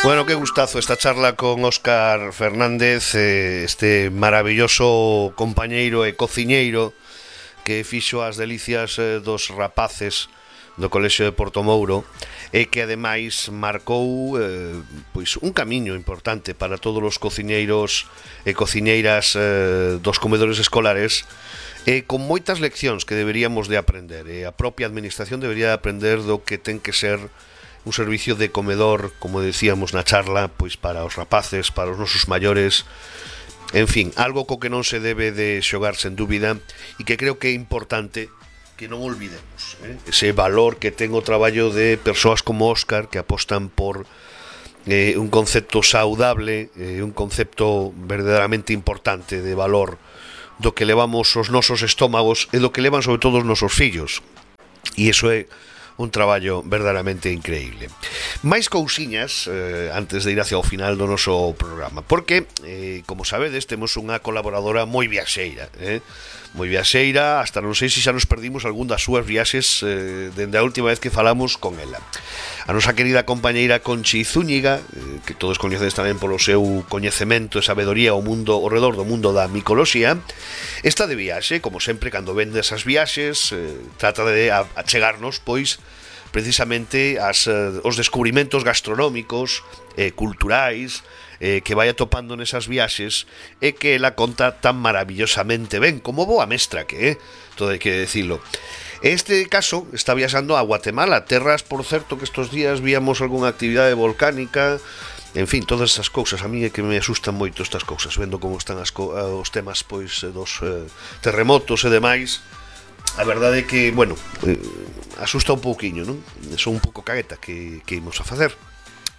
Bueno, qué gustazo esta charla con Óscar Fernández, este maravilloso compañeiro e cociñeiro que fixo as delicias dos rapaces do Colexio de Portomouro e que ademais marcou pois un camiño importante para todos os cociñeiros e cociñeiras dos comedores escolares, e con moitas leccións que deberíamos de aprender, e a propia administración debería de aprender do que ten que ser un servicio de comedor, como decíamos na charla, pois para os rapaces, para os nosos maiores, en fin, algo co que non se debe de xogar sen dúbida, e que creo que é importante que non olvidemos ese valor que ten o traballo de persoas como Óscar, que apostan por un concepto saudable, un concepto verdadeiramente importante de valor do que levamos os nosos estómagos e do que levan sobre todo os nosos fillos, e iso é un traballo verdadeiramente increíble. Máis cousiñas antes de ir hacia o final do noso programa, porque, como sabedes, temos unha colaboradora moi viaxeira, moi viaxeira, hasta non sei se xa nos perdimos algún das súas viaxes dende a última vez que falamos con ela. A nosa querida compañeira Conchi Zúñiga, que todos coñecedes tamén polo seu coñecemento e sabedoría ao redor do mundo da micoloxía, está de viaxe, como sempre, cando vende esas viaxes, trata de achegarnos, pois, precisamente os descubrimentos gastronómicos, culturais, que vai atopando nesas viaxes, e que ela conta tan maravillosamente ben, como boa mestra que é, todo hai que decirlo. Este caso está viaxando a Guatemala, terras, por certo, que estos días víamos algunha actividade volcánica, en fin, todas esas cousas. A mí é que me asustan moito estas cousas, vendo como están os temas pois dos terremotos e demais. A verdade é que, bueno, asusta un pouquiño, non? Son un pouco cagueta que imos a facer.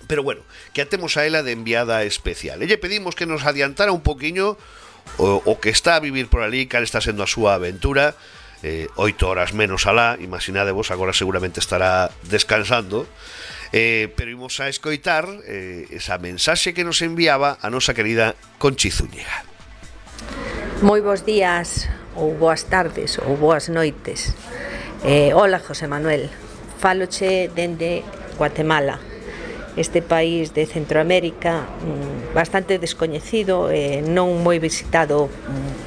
Pero bueno, que atemos a ela de enviada especial. E lle pedimos que nos adiantara un pouquiño o que está a vivir por ali, cal está sendo a súa aventura. 8 horas menos alá, imaginadevos, agora seguramente estará descansando, pero imos a escoitar esa mensaxe que nos enviaba a nosa querida Conchi Zúñiga. Moi bons días, ou boas tardes, ou boas noites. Hola, José Manuel, fáloche dende Guatemala, este país de Centroamérica bastante descoñecido e non moi visitado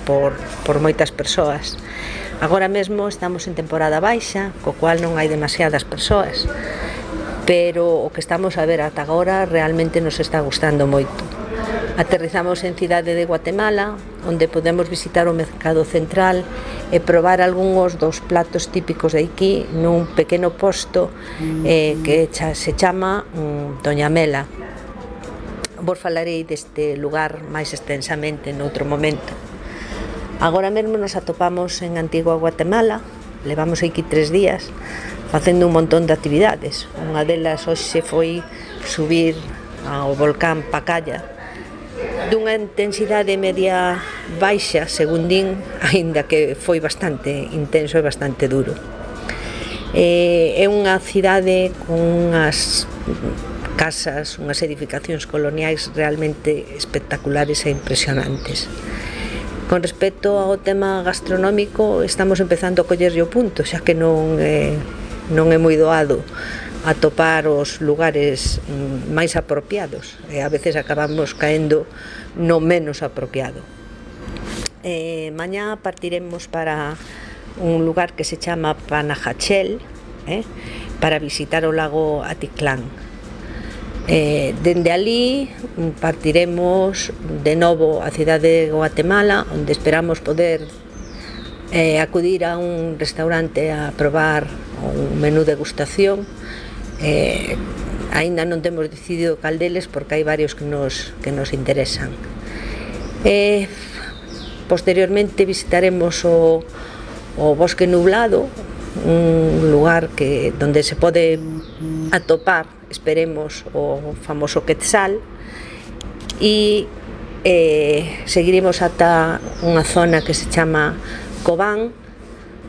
por moitas persoas. Agora mesmo estamos en temporada baixa, co cual non hai demasiadas persoas, pero o que estamos a ver ata agora realmente nos está gustando moito. Aterrizamos en Cidade de Guatemala, onde podemos visitar o mercado central e probar algúns dos platos típicos de aquí nun pequeno posto que se chama Doña Mela. Vos falarei deste lugar máis extensamente noutro momento. Agora mesmo nos atopamos en Antigua Guatemala, levamos aquí 3 días facendo un montón de actividades. Unha delas hoxe foi subir ao volcán Pacaya, dunha intensidade media baixa, según din, aínda que foi bastante intenso e bastante duro. É unha cidade con unhas casas, unhas edificacións coloniais realmente espectaculares e impresionantes. Con respecto ao tema gastronómico, estamos empezando a collerlle o punto, xa que non é moi doado atopar os lugares máis apropiados, e a veces acabamos caendo no menos apropiado. Mañá partiremos para un lugar que se chama Panajachel, para visitar o lago Atitlán. Dende ali partiremos de novo a cidade de Guatemala, onde esperamos poder acudir a un restaurante a probar un menú degustación. Aínda non temos decidido cal deles, porque hai varios que nos interesan. Posteriormente visitaremos o Bosque Nublado, un lugar donde se pode atopar, esperemos, o famoso quetzal, e seguiremos ata unha zona que se chama Cobán,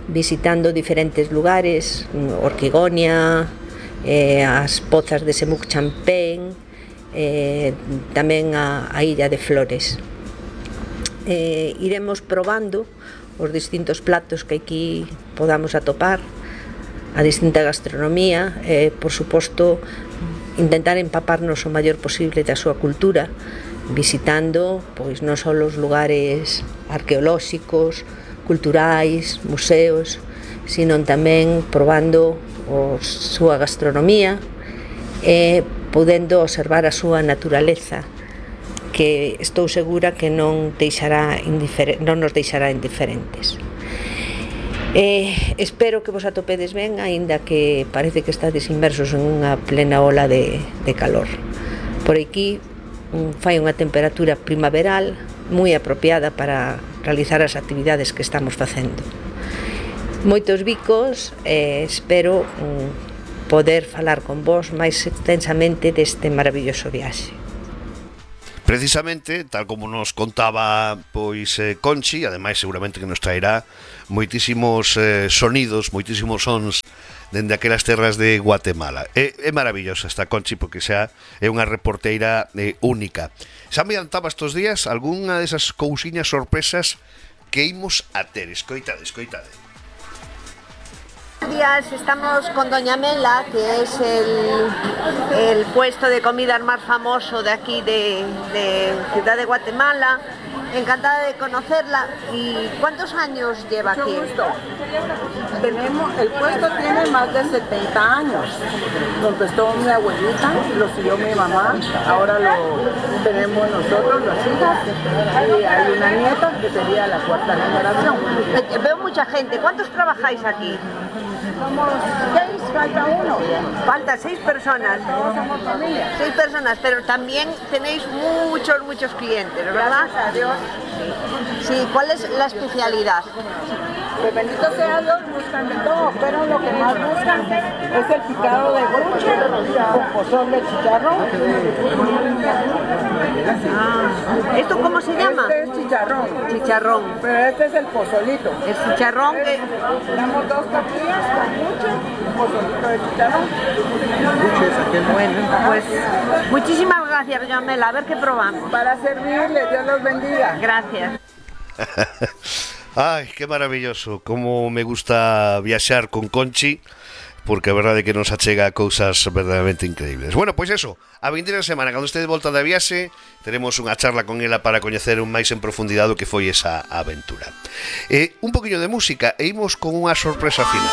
visitando diferentes lugares, Orquigonia, as pozas de Semuc Champén, tamén a Illa de Flores. Iremos probando os distintos platos que aquí podamos atopar, a distinta gastronomía, por suposto intentar empaparnos o maior posible da súa cultura, visitando pois non só os lugares arqueolóxicos, culturais, museos, sino tamén probando a súa gastronomía e podendo observar a súa naturaleza, que estou segura que non nos deixará indiferentes. Espero que vos atopedes ben, aínda que parece que estades inmersos en unha plena ola de calor. Por aquí fai unha temperatura primaveral moi apropiada para realizar as actividades que estamos facendo. Moitos bicos, espero poder falar con vos máis extensamente deste maravilloso viaxe. Precisamente, tal como nos contaba pois Conchi, ademais seguramente que nos traerá moitísimos sonidos, moitísimos sons dende aquelas terras de Guatemala. É maravillosa esta Conchi porque xa é unha reporteira única. Xa me adiantaba estes días algunha desas cousiñas sorpresas que imos a ter. Escoitade. Días estamos con Doña Mela, que es el puesto de comidas más famoso de aquí de Ciudad de Guatemala. Encantada de conocerla. ¿Y cuántos años lleva aquí? Mucho gusto. El puesto tiene más de 70 años. Lo empezó mi abuelita, lo siguió mi mamá, ahora lo tenemos nosotros, las hijas, y hay una nieta que sería la cuarta generación. Veo mucha gente. ¿Cuántos trabajáis aquí? Somos 6, falta uno. Falta 6 personas. Todos somos familia. 6 personas, pero también tenéis muchos clientes, ¿verdad? Gracias a Dios. Sí, ¿cuál es la especialidad? Pues bendito sea Dios, buscan de todo, pero lo que más buscan es el picado de gruche con pozole de chicharrón. ¿Esto cómo se llama? Este es chicharrón. Chicharrón. Pero este es el pozolito. El chicharrón que... Damos 2 tortillas con gruche y un pozolito de chicharrón. Bueno, pues muchísimas gracias, doña Mela. A ver qué probamos. Para servirle, Dios los bendiga. Gracias. Ai, que maravilloso. Como me gusta viaxar con Conchi, porque a verdade é que nos achega cousas verdadeiramente increíbles. Bueno, pois eso, a vindeira semana, cando este de volta da viaxe, teremos unha charla con ela para coñecer un máis en profundidade o que foi esa aventura. Un poquinho de música e imos con unha sorpresa final.